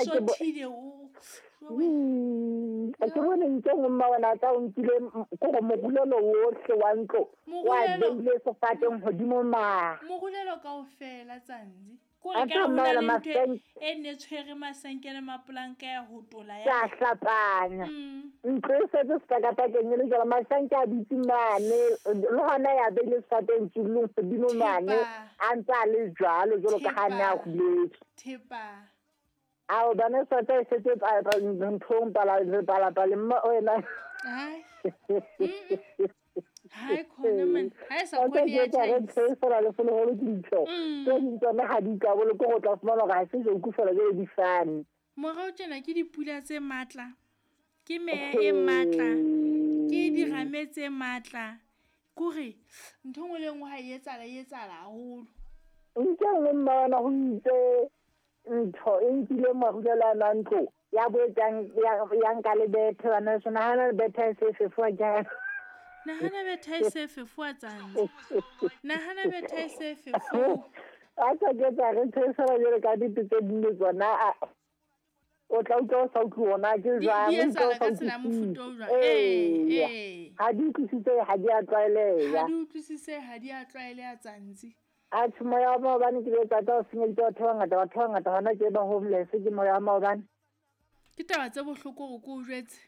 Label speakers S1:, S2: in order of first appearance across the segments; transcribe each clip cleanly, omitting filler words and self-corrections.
S1: Sothile o.
S2: Ke bone ntse nngwe mma wena tsa o nkile kore morulelo wohle wa ntlo wa beile sefateng godimo ma.
S1: Morulelo kaofela tsantsi. Kore ka hona le ntho e ne tshwere masenke le mapolanka ya ho tola
S2: ya. Ka hlapanya. Ntlo e setse sepakapakeng e le jalo masenke a dutse mane le hona ya beile sefateng tsulong godimo mane a ntse a le jwalo jwalo ka ha ne a huletswe.
S1: Thepa.
S2: Ao bana sata e setse nthong palapaleng mma wena.
S1: Hai. Hai khona man. Ha e sa khone ya
S2: tjhaisa. Fela le fela holo ke ditho. Tse ding tsona ha di ka bolo ke go tla fumana hore ha se joku fela jwale di fane.
S1: Morao tjena ke dipula tse matla. Ke meya e matla. Ke dirame tse matla. Kore ntho nngwe le nngwe ha e etsahala e etsahala haholo.
S2: Ntho e nngwe mma wena ho itse ntho e nkile marulelo a na ntlo ya boetsang ya nka le bethe bana so nahana le bethe e se fefowa jang.
S1: Nahana bethe e se fefowa tsantsi. Nahana bethe e se fefowa.
S2: A tsa ke tsa re ntho e sala jwale ka dite tse ding le tsona o tla utlwa o sa utlwe ona ke jwang.
S1: Di etsahala ka tsela mofuta o jwang. Ee.
S2: Ha di utlwisise ha di a tlwaeleha.
S1: Ha di utlwisise ha di a tlwaeleha tsantsi.
S2: Atjhe moya wa maobane ke le tsatsa o senyeditse batho ba bangata, batho ba bangata hona tje ba homeless ke moya wa maobane.
S1: Ke taba tse bohloko hore ke o jwetse.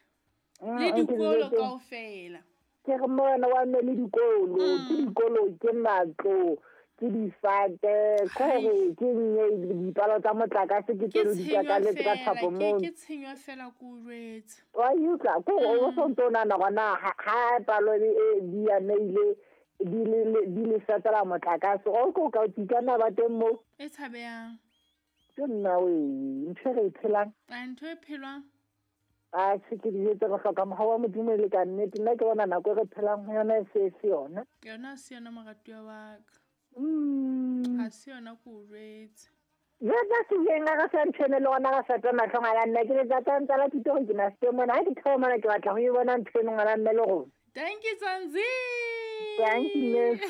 S1: Le dikolo kaofela.
S2: Ke re moya wa mme le dikolo, ke dikolo, ke matlo, ke difate, kore ke nye dipalo tsa motlakase ke tseno di kakaletse ka thapo moo.
S1: Ke tshenyo fela ke o jwetse.
S2: Wa utlwa, kore o so ntso nahana hore na ha palo e di ameile di le fetela motlakase o ko ka tikana ba teng mo.
S1: E tshabehang.
S2: Ke nna we ntho e re phelang.
S1: A ntho e phelwang.
S2: A se ke dijetse re hloka mohau wa Modimo le ka nnete nna ke bona nako e re phelang ho yona e se se yona.
S1: Yona se yona moratuwa wa ka. Ha se yona ko o jwetse.
S2: Jwetsa se ileng a re sa ntho eno le rona re sa tswa mahlong a la nna ke letsatsi a ntse la thuto gore ke na se mona ha ke theoha mona ke batla ho e bona ntho eno ngwana mme le rona.
S1: Thank you, Zanzi.
S2: Thank you, miss.